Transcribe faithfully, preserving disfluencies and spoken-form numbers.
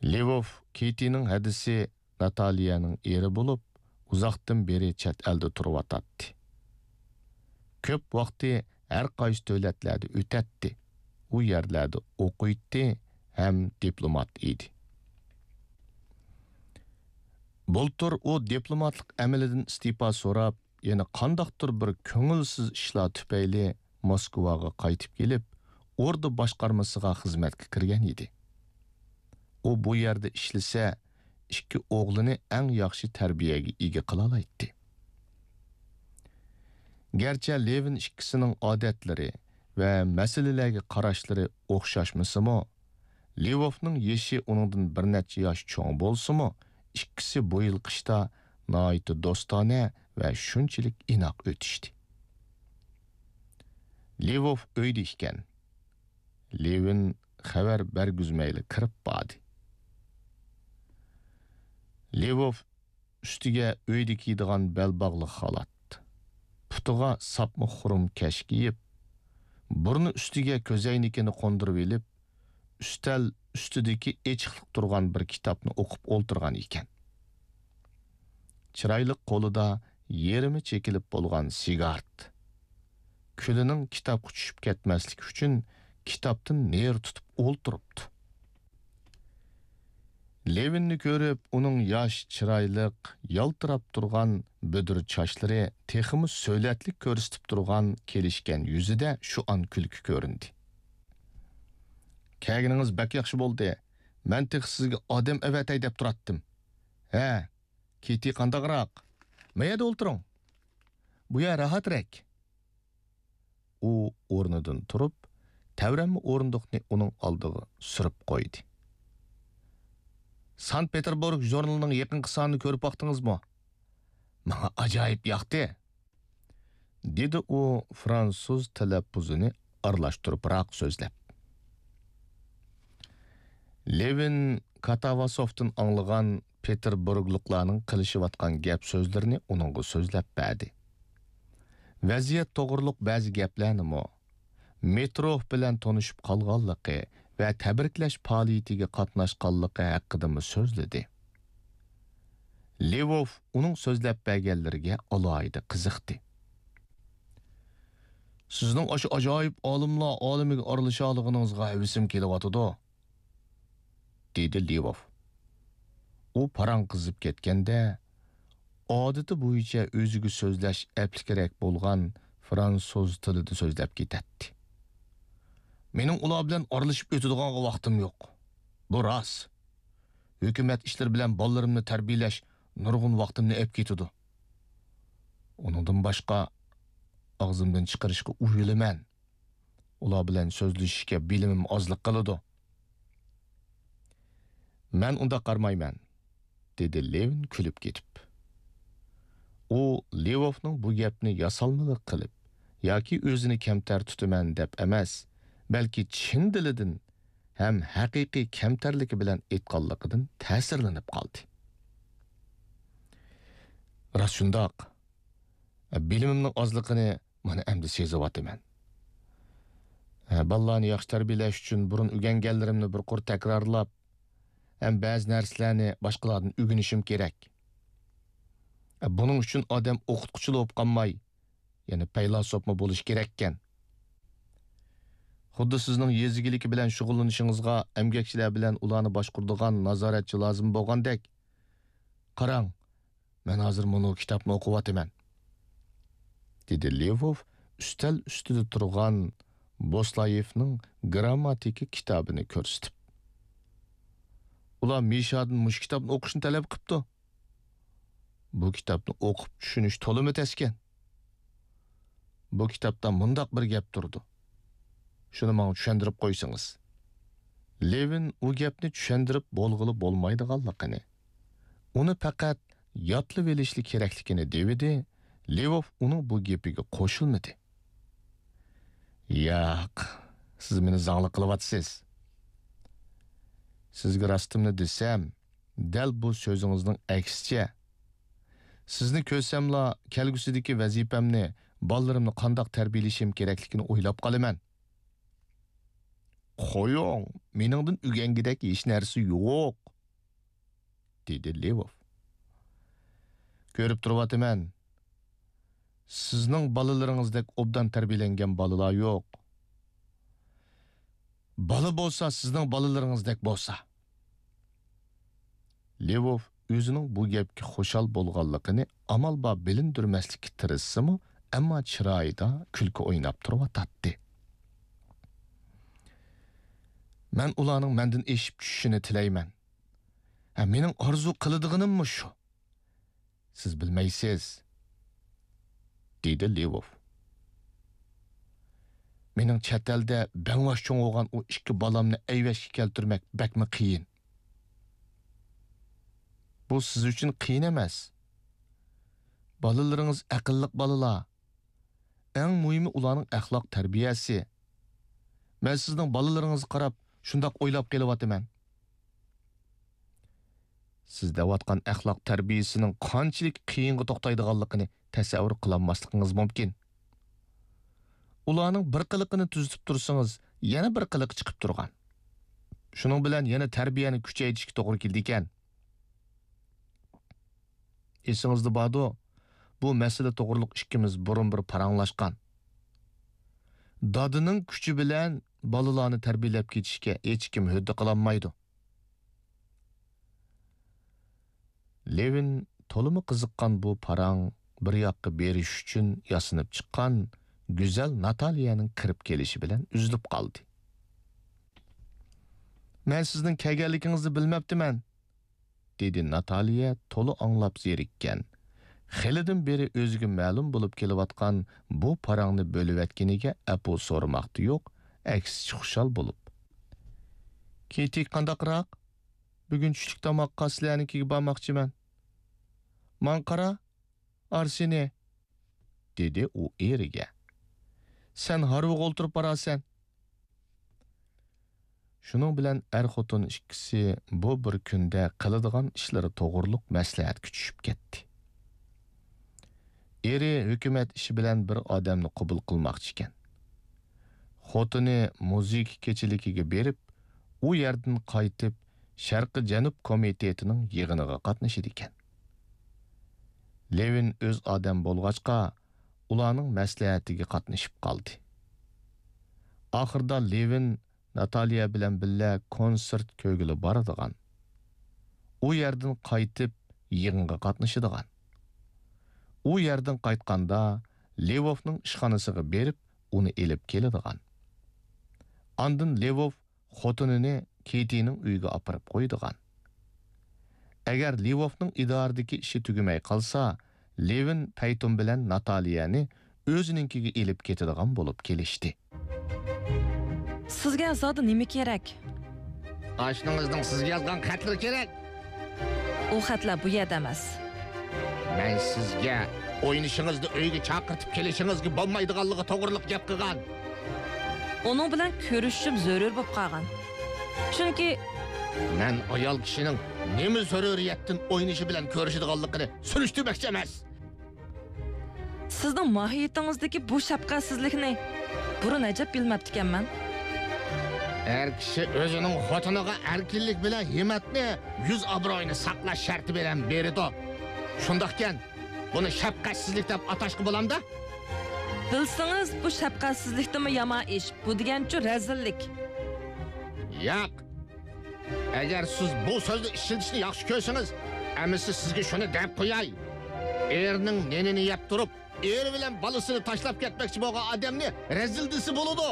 لېۋوف كېتىنىڭ ھەدىسى ناتالىيەنىڭ ئېرى بولۇپ، ئۇزاقتىن بېرى چەت ئەلدە تۇرۇۋاتاتتى. كۆپ ۋاقتى ھەر قايسى دۆلەتلەردە ئۆتەتتى، ئۇ يەرلەردە ئوقۇيتتى ھەم دىپلومات ئىدى. بۇلتۇر ئۇ دىپلوماتلىق ئەمىلىدىن ئىستېپا سوراپ، يەنە قانداقتۇر بىر كۆڭۈلسىز ئىشلار تۈپەيلى موسكۋاغا قايتىپ كېلىپ، ئوردا باشقارمىسىغا خىزمەتكە كىرگەن ئىدى. ئۇ بۇ يەردە ئىشلىسە، ئىككى ئوغلىنى ئەڭ ياخشى تەربىيەگە ئىگە قىلالايتتى. گەرچە لېۋىن ئىككىسىنىڭ ئادەتلىرى ۋە مەسىلىلەرگە قاراشلىرى ئوخشاشمىسىمۇ، لېۋوفنىڭ يېشى ئۇنىڭدىن بىر نەچچە ياش چوڭ بولسىمۇ، ئىككىسى بۇ يىل قىشتا ناھايىتى دوستانە ۋە شۇنچىلىك ئىناق ئۆتۈشتى. لېۋوف ئۆيدە ئىكەن. لېۋىن خەۋەر بەرگۈزمەيلا كىرىپ باردى. لېۋوف ئۈستىگە ئۆيدە كىيىدىغان بەلباغلىق خالات، پۇتىغا ساپما خۇرۇم كەش كىيىپ، بۇرنى ئۈستىگە كۆزەينىكىنى قوندۇرۇۋېلىپ، ئۈستەل ئۈستىدىكى ئېچىقلىق تۇرغان بىر كىتابنى ئوقۇپ ئولتۇرغان ئىكەن. چىرايلىق قولىدا يېرىمى چېكىلىپ بولغان سىگارت. كۈلىنىڭ كىتابقا چۈشۈپ كەتمەسلىكى ئۈچۈن كىتابتىن نېرى تۇتۇپ ئولتۇرۇپتۇ. لېۋىننى كۆرۈپ، ئۇنىڭ ياش، چىرايلىق، يالتىراپ تۇرغان بۈدۈر چاچلىرى تېخىمۇ سۆلەتلىك كۆرسىتىپ تۇرغان كېلىشكەن يۈزىدە شۇ ئان كۈلكە كۆرۈندى. «كەلگىنىڭىز بەك ياخشى بولدى. مەن تېخى سىزگە ئادەم ئەۋەتەي دەپ تۇراتتىم. ھە، كېتى قانداقراق؟ ما يەردە ئولتۇرۇڭ. بۇ يەر راھەترەك.» ئۇ ئورنىدىن تۇرۇپ، تەۋرەنمە ئورۇندۇقنى ئۇنىڭ ئالدىغا سۈرۈپ قويدى. «سانكت پېتېربۇرگ ژۇرنىلىنىڭ يېقىنقى سانىنى كۆرۈپ باقتىڭىزمۇ؟ ماڭا ئاجايىپ ياقتى.» دېدى ئۇ فرانسۇز تەلەپپۇزىنى ئارىلاشتۇرۇپراق سۆزلەپ. لېۋىن كاتاۋاسوفتىن ئاڭلىغان پېتېربۇرگلۇقلارنىڭ قىلىشىۋاتقان گەپ سۆزلىرىنى ئۇنىڭغا سۆزلەپ بەردى. ۋەزىيەت توغرۇلۇق بەزى گەپلەرنىمۇ، مېتروف بىلەن تونۇشۇپ قالغانلىقى ۋە تەبرىكلەش پائالىيىتىگە قاتناشقانلىقى ھەققىدىمۇ سۆزلىدى. لېۋوف ئۇنىڭ سۆزلەپ بەرگەنلىرىگە ئالاھىدە قىزىقتى. «سىزنىڭ ئاشۇ ئاجايىپ ئالىملار ئالىمىگە ئارىلىشالىغىنىڭىزغا ھەۋىسىم كېلىۋاتىدۇ.» دېدى لېۋوف. ئۇ پاراڭ قىزىپ كەتكەندە، ئادىتى بويىچە ئۆزىگە سۆزلەش ئەپلىكرەك بولغان فرانسۇز تىلىدا سۆزلەپ كېتەتتى. «مېنىڭ ئۇلار بىلەن ئارىلىشىپ ئۆتىدىغانغا ۋاقتىم يوق. بۇ راست. ھۆكۈمەت ئىشلىرى بىلەن بالىلىرىمنى تەربىيەلەش نۇرغۇن ۋاقتىمنى ئەپ كېتىدۇ. ئۇنىڭدىن باشقا، ئاغزىمدىن چىقىرىشقا ئۇيىلىمەن. ئۇلار بىلەن سۆزلىشىشكە بىلىمىم ئازلىق قىلىدۇ.» «مەن ئۇنداق قارىمايمەن.» دېدى لېۋىن كۈلۈپ كېتىپ. ئۇ لېۋوفنىڭ بۇ گەپنى ياسالمىلىق قىلىپ ياكى ئۆزىنى كەمتەر تۇتىمەن دەپ ئەمەس، بەلكى چىن دىلىدىن ھەم ھەقىقىي كەمتەرلىكى بىلەن ئېيتقانلىقىدىن تەسىرلىنىپ قالدى. «راست شۇنداق. بىلىمىمنىڭ ئازلىقىنى مانا ئەمدى سېزىۋاتىمەن. ھە، بالىلارنى ياخشى تەربىيەلەش ئۈچۈن بۇرۇن ئۆگەنگەنلىرىمنى بىر قۇر تەكرارلاپ، ھەم بەزى نەرسىلەرنى باشقىلاردىن ئۆگىنىشىم كېرەك. بۇنىڭ ئۈچۈن ئادەم ئوقۇتقۇچىلا بولۇپ قالماي، يەنە پەيلاسوپمۇ بولۇشى كېرەككەن. خۇددى سىزنىڭ يېزا ئىگىلىكى بىلەن شۇغۇللىنىشىڭىزغا ئەمگەكچىلەر بىلەن ئۇلارنى باشقۇرىدىغان نازارەتچى لازىم بولغاندەك. قاراڭ، مەن ھازىر مۇنۇ كىتابنى ئوقۇۋاتىمەن.» دېدى لېۋوف ئۈستەل ئۈستىدە تۇرغان بوسلايېفنىڭ گىرامماتىكا كىتابىنى كۆرسىتىپ. «ئۇلار مىشادىن مۇشۇ كىتابنى ئوقۇشنى تەلەپ قىپتۇ. بۇ كىتابنى ئوقۇپ چۈشىنىش تولىمۇ تەسكەن. بۇ كىتابتا مۇنداق بىر گەپ تۇرىدۇ. شۇنى ماڭا چۈشەندۈرۈپ قويسىڭىز.» لېۋىن ئۇ گەپنى چۈشەندۈرۈپ بولغىلى بولمايدىغانلىقىنى، ئۇنى پەقەت يادلىۋېلىشلا كېرەكلىكىنى دېۋىدى، لېۋوف ئۇنىڭ بۇ گېپىگە قوشۇلمىدى. «ياق، سىز مېنى زاڭلىق قىلىۋاتىسىز. سىزگە راستىمنى دېسەم، دەل بۇ سۆزىڭىزنىڭ ئەكسىچە. سىزنى كۆرسەملا، كەلگۈسىدىكى ۋەزىپەمنى، بالىلىرىمنى قانداق تەربىيەلىشىم كېرەكلىكىنى ئويلاپ قالىمەن.» «قويۇڭ، مېنىڭدىن ئۆگەنگۈدەك ھېچ نەرسە يوق. دېدى لېۋوف. كۆرۈپ تۇرۇۋاتىمەن، سىزنىڭ بالىلىرىڭىزدەك ئوبدان تەربىيەلەنگەن بالىلار يوق. بالا بولسا سىزنىڭ بالىلىرىڭىزدەك بولسا. لېۋوف ئۆزىنىڭ بۇ گەپكە خۇشال بولغانلىقىنى ئامال بار بىلىندۈرمەسلىككە تىرىشسىمۇ، ئەمما چىرايىدا كۈلكە ئويناپ تۇرۇۋاتاتتى. مەن ئۇلارنىڭ مەندىن ئېشىپ چۈشۈشىنى تىلەيمەن. ھە، مېنىڭ ئارزۇ قىلىدىغىنىممۇ شۇ. سىز بىلمەيسىز، دېدى لېۋوف. مېنىڭ چەت ئەلدە بەڭۋاش چوڭ بولغان ئۇ ئىككى بالامنى ئەيۋەشكە كەلتۈرمەك بەكمۇ قىيىن. بۇ سىز ئۈچۈن قىيىن ئەمەس. بالىلىرىڭىز ئەقىللىق بالىلار. ئەڭ مۇھىمى ئۇلارنىڭ ئەخلاق تەربىيەسى. مەن سىزنىڭ بالىلىرىڭىزغا قاراپ شۇنداق ئويلاپ قېلىۋاتىمەن. سىز دەۋاتقان ئەخلاق تەربىيەسىنىڭ قانچىلىك قىيىنغا توختايدىغانلىقىنى تەسەۋۋۇر قىلالماسلىقىڭىز مۇمكىن. ئۇلارنىڭ بىر قىلىقىنى تۈزىتىپ تۇرسىڭىز، يەنە بىر قىلىقى چىقىپ تۇرغان. شۇنىڭ بىلەن يەنە تەربىيەنى كۈچەيتىشكە توغرا كېلىدىكەن. ئېسىڭىزدە باردۇ، بۇ مەسىلە توغرۇلۇق ئىككىمىز بۇرۇن بىر پاراڭلاشقان. دادىنىڭ كۈچى بىلەن بالىلارنى تەربىيەلەپ كېتىشكە ھېچكىم ھۆددە قىلالمايدۇ. لېۋىن تولىمۇ قىزىققان بۇ پاراڭ بىر ياققا بېرىش ئۈچۈن ياسىنىپ چىققان گۈزەل ناتالىيەنىڭ كىرىپ كېلىشى بىلەن ئۈزۈلۈپ قالدى. مەن سىزنىڭ كەلگەنلىكىڭىزنى بىلمەپتىمەن، دېدى ناتالىيە تولا ئاڭلاپ زېرىككەن، خېلىدىن بېرى ئۆزىگە مەلۇم بولۇپ كېلىۋاتقان بۇ پاراڭنى بۆلۈۋەتكىنىگە ئەپۇ سورىماقتا يوق، ئەكسىچە خۇشال بولۇپ. كېيتى قانداقراق؟ بۈگۈن چۈشلۈك تاماققا سىلەرنىڭكىگە بارماقچىمەن. ماڭا قارا، ئارسېنى، دېدى ئۇ ئېرىگە. سەن ھارۋىغا ئولتۇرۇپ بارارسەن. شۇنىڭ بىلەن ئەر-خوتۇن ئىككىسى بۇ بىر كۈندە قىلىدىغان ئىشلىرى توغرۇلۇق مەسلىھەتكە چۈشۈپ كەتتى. ئېرى ھۆكۈمەت ئىشى بىلەن بىر ئادەمنى قوبۇل قىلماقچىكەن. خوتۇنى مۇزىكا كېچىلىكىگە بېرىپ، ئۇ يەردىن قايتىپ، شەرقىي جەنۇب كومىتېتىنىڭ يىغىنىغا قاتنىشىدىكەن. لېۋىن ئۆز ئادەم بولغاچقا، ئۇلارنىڭ مەسلىھەتىگە قاتنىشىپ قالدى. ئاخىرىدا لېۋىن ناتالىيە بىلەن بىللە كونسېرت كۆرگىلى بارىدىغان. ئۇ يەردىن قايتىپ يىغىنغا قاتنىشىدىغان. ئۇ يەردىن قايتقاندا لېۋوفنىڭ ئىشخانىسىغا بېرىپ ئۇنى ئېلىپ كېلىدىغان. ئاندىن لېۋوف خوتۇنىنى كېيتىنىڭ ئۆيىگە ئاپىرىپ قويىدىغان. ئەگەر لېۋوفنىڭ ئىدارىدىكى ئىشى تۈگىمەي قالسا، لېۋىن پەيتۇن بىلەن ناتالىيەنى ئۆزىنىڭكىگە ئېلىپ كېتىدىغان بولۇپ كېلىشتى. سىزگە زادى نېمە كېرەك؟ ئاشنىڭىزنىڭ سىزگە يازغان خەتلىرى كېرەك. ئۇ خەتلەر بۇ يەردە ئەمەس. مەن سىزگە ئوينىشىڭىزنى ئۆيگە چاقىرتىپ كېلىشىڭىزگە بولمايدىغانلىقى توغرىلىق گەپ قىلغان. ئۇنىڭ بىلەن كۆرۈشۈشۈم زۆرۈر بولۇپ قالغان. چۈنكى مەن ئايال كىشىنىڭ نېمە زۆرۈرىيەتتىن ئوينىشى بىلەن كۆرۈشىدىغانلىقىنى سۈرۈشتۈرمەكچى ئەمەس. سىزنىڭ ماھىيىتىڭىزدىكى بۇ شەپقەتسىزلىكنى بۇرۇن ئەجەب بىلمەپتىكەنمەن. ئەر كىشى ئۆزىنىڭ خوتۇنىغا ئەركىنلىك بىلەن ھىممەتنى، يۈز ئابرۇيىنى ساقلاش شەرتى بىلەن بېرىدۇ. شۇنداقكەن، بۇنى شەپقەتسىزلىك دەپ ئاتاشقا بولامدا؟ بىلسىڭىز، بۇ شەپقەتسىزلىكتىنمۇ يامان ئىش. بۇ دېگەنچۇ رەزىللىك. ياق. ئەگەر سىز بۇ سۆزنى ئىشلىتىشنى ياخشى كۆرسىڭىز، ئەمىسە سىزگە شۇنى دەپ قوياي. ئېرىنىڭ نېنىنى يەپ تۇرۇپ، ئېرى بىلەن بالىسىنى تاشلاپ كەتمەكچى بولغان ئادەمنى رەزىل دېسە بولىدۇ.